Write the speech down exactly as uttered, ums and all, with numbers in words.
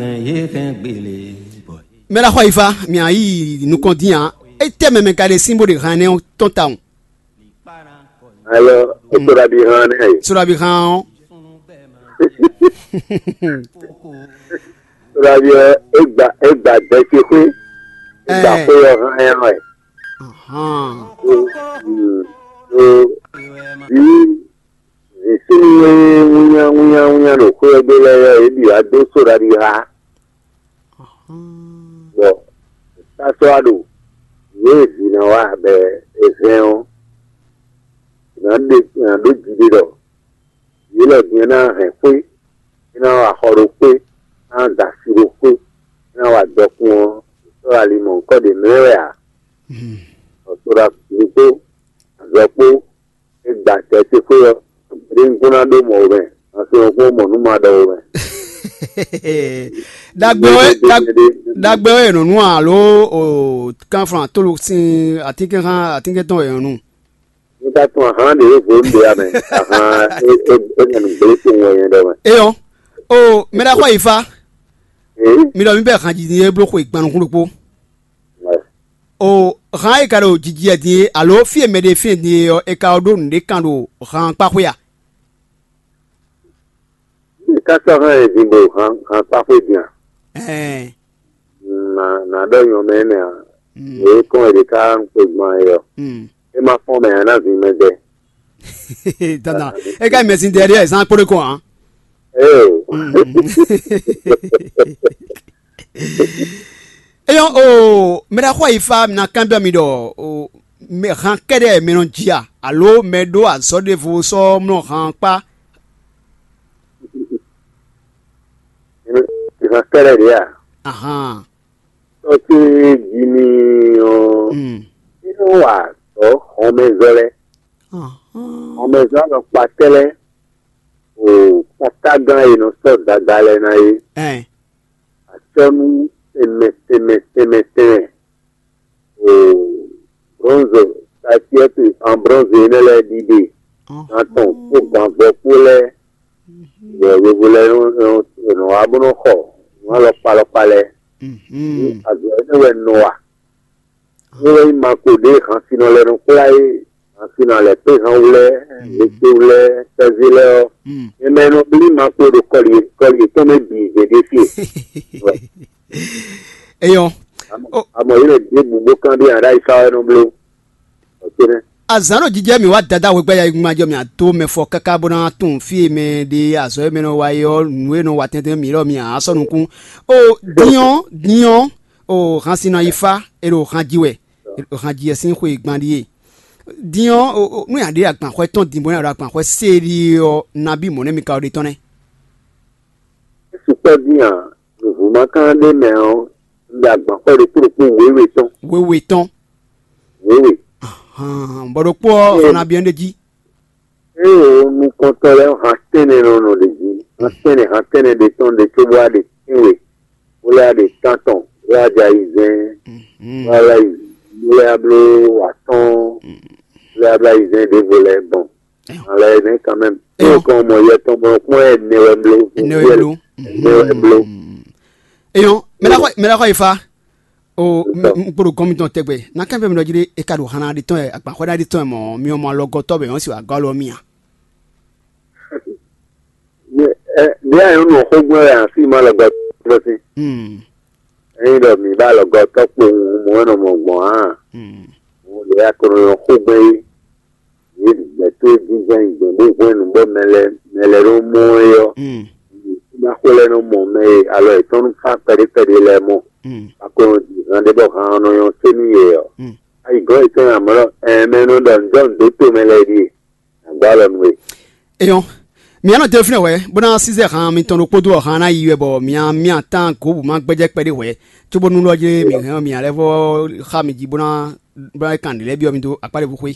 Yě hɛn gbélé bɔ. Mɛ ɖaxó ayifa, mǐ yi nukɔn dín ǎ. Étɛ́ mɛ mɛ ka ɖe sín bó ɖe han énɛ́ ɔ́ tɔn tawun? Alɔ, étoɖabi han nɛ. Soɖabi han ɔ́. Soɖabi ɔ́, é gba é gba dɛ ce xwé, é gba xwé ɔ́ han ɛ wɛ. Hàn. Vǐ vǐ súnnu e wínnyá wínnyá wínnyá ɖo xwé ɔ́ gbe lɛ́ɛ ɔ́, yě bǐ wá dó soɖabi ha. Bɔ sásɔ́ wá ɖo yě e vǐ ná wá bɔ è hɛn ɔ́, è nǎ ɖe è nǎ ɖó jiɖe ɖɔ yě lɔ din ɔ́ ná hɛn xwé, é ná wa xɔ ɖo xwé, é ná da asi ɖo xwé, é ná wa dɔkun ɔ́, sɔ́ ali mɔ̌hunkɔ ɖě mlɛ́ wɛ ǎ. Bɔ soɖabi kpó azɔ̌ kpó é gba acɛ ce xwé ɔ́, ɖěbǔ ná ɖó mɔ̌ wɛ mɛ, nǎ se ɔ́ kpó mɔ nǔ ma ɖɔ wɛ mɛ. Ɖagbe ɔ́, ɖagbe ɔ́ è nɔ nú alo o kanflán tólo sín atínkɛnxán atínkɛn tɔn è nɔ nú? Ní ká tún ahán ɖě vo ń ɖe amɛ, ahán é é é nɔ nǔgbé kpowun wɛ nyɛ ɖɔ mɛ. Eyɔn, o mɛ ɖaxó ayifa, Ee, mi ɖɔ mi bɛ han jiji e bló xwe gban nukún ɖokpó. Wɛ. O han e ka ɖo jiji wɛ din e alo fí e mɛ ɖe fí e din e ɔ́, è ka ɖó nǔɖé kan ɖo han kpá xwé a? Ká sɔ́ hɛn ɛ din bo han han kpá xwé din a? Ɛɛ. Nà nà ɖɔ nyɔ mɛ énɛ́ a? Mm. Yě kɔn è ɖě ká ń kpe gbɔn ayé ɔ. Mm. É má fɔn mɛ ǎ ná vǐ mɛ gbɛ. Dandan. É ka mɛ sin dɛɖɛ zan kpó ɖé kɔn ǎ. Eo. Mm. Eyɔn o mɛ ɖaxó ayifa mi ná kanbyɔ́ mi ɖɔ o mɛ han kɛɖɛ mɛ nɔ ji a alo mɛ ɖó azɔ̌ ɖěvo sɔ́ mlɔ han kpá? Ìhàn kɛ́ɖɛ́ ɖě a? Ahan. Tɔ́ ce jí n'i ɔ́, Mm. é nɔ wa azɔ̌ xɔmɛzɔ́ lɛ́ɛ. Ahan. Xɔmɛzɔ́ alɔkpa tɛ́ lɛ́ɛ o kpɔ́tágán e nɔ sɔ́ dada lɛ́ɛ ná é. Ɛn. Acɔ́nú tɛnmɛ tɛnmɛ tɛnmɛ tɛnmɛ o bronze, taciɛ́tu an bronze énɛ́ lɛ́ɛ ɖiɖe, gan tɔn kpó ganvɔ kpó lɛ́ɛ, bɔ yovó lɛ́ɛ nɔ nɔ wá bó nɔ xɔ nǔ alɔkpa alɔkpa lɛ́ɛ. Azɔ̌ énɛ́ wɛ nɔ wa. É wɛ nyí ma ko ɖě hansinɔ lɛ́ɛ nɔ kplá é, hansinɔ alɛ̌kpéhanwlɛ́, hwetewlɛ́, sɛ́zé lɛ́ɛ ɔ́, mɛ mɛ e nɔ blí ma ko ɖo kɔli kɔli yětɔn mɛ bǐ zě ɖé fie. Eyɔn. Amɔ yě lɛ ɖěbǔ bó kanbyɔ́ aɖáyíká wɛ nɔ bló. Azǎn ɖo jijɛ mì wá Dadá wegba yayigungban jɔ mì adó mɛ fɔ káká bó ná tunwun fí e mɛ ɖe azɔ̌ e mɛ nɔ wa é ɔ́, nǔ e nɔ wa tɛntɛn mǐ lɔ mì ǎ sɔ́ nukún. O din ɔ́, din ɔ́, o hansin nɔ yi fá, è ɖo han ji wɛ, è ɖo han ji wɛ sín xwe gban ɖíe. Din ɔ́, o, o, nú nya ɖě agbanxwɛ tɔn din bó ná ɖo agbanxwɛ séɖí ɔ́, nabí mɔ̌ nɛ́ mi ka ɖe tɔn nɛ́? É sukpɔ́ dín ǎ, nǔvú ma ka ɖ'é mɛ ɔ́, un ɖo agban xɔ ɖokpó ɖokpó wěwe tɔn. Wěwe tɔn. Wěwe. Ahan, bɔ ɖokpó ɔ́, Ee. Xɔ na biɔ ɖ'é jí. Ée o nukɔntɔn lɛ́ɛ han tɛ́nnɛ nɔ nɔ ɖě jí, han tɛ́nnɛ han tɛ́nnɛ ɖe tɔn ɖe cóbó wá ɖe tɛ́nwe, bó lɛ́ wá ɖe tántɔn, bó lɛ́ wá jɛ ayizɛ́n, bó lɛ́ wá yi, bó lɛ́ wá bló atɔ́ɔ́n, bó lɛ́ wá bló ayizɛ́n ɖěvo lɛ́ɛ gbɔn. Alɛ ne quand même. Eyɔn. Eyɔn kɔn mɔ yɛ tɔn mɔ kpɔn ɛ ne wɛ blo. Ne wɛ blo. Ne wɛ blo. Eyɔn, mɛ la xɔ mɛ la xɔ ifa. O, n kpɔɖo gɔn mitɔn tɛgbɛ. Na kɛn fɛn mi dɔ jiri e ka ɖo hana ɖi tɔn yɛ, agbaxɔ ɖa ɖi tɔn yɛ mɔ, mi mɔ alɔgɔtɔ bɛ yɔn si wa gɔ alɔ mi a? Ɛ, ɖe ayɔn nɔ xɔ gbɔn yɛ afi ma lɔgɔ tɔn si. Hmm. Eyin ɖɔ mi ba lɔgɔtɔ kpo ŋu mɔ nɔ mɔ gbɔn a? Hmm. Mo ɖe aklɔnyɔ xó gbɛn yí. Yě ɖi gbɛ̌ towe jínjɔ́n nyi gbɛ̌ bó hwɛ́n nǔ bɔ mɛ lɛ́ɛ mɛ lɛ́ɛ nɔ mɔ é ɔ́, ná xwé lɛ́ɛ nɔ mɔ mɛ e alɔ yětɔn nɔ fá kpɛɖé kpɛɖé lɛ́ɛ mɔ. Aklɔnɔ ji han ɖé bɔ han ɔ́ nɔ nyɔ́ sé nú yě ɔ́, ayi gɔ́ yětɔn nyi amɔ̌ ɖɔ ɛɛ mɛ nɔ ɖɔ nǔ jɔ nǔ dó to mɛ lɛ́ɛ ɖíe, nǎ gbɔ alɔ nú we. Eyɔn, mǐ nɔ te fínɛ́ wɛ, bó ná sísɛ han mitɔn ɖokpó dó ɔhan ná yi wɛ bɔ mǐ mǐ atán gǒ bǔ má gbɛ́jɛ́ kpɛɖé hwɛ̌, cóbónú lɔ jlé mǐ hɛn mǐ lɛ́ vɔ xá mi jí bó ná bó ná kan nǔ lɛ́ɛ byɔ́ mi dó akpá ɖěbǔ xwé.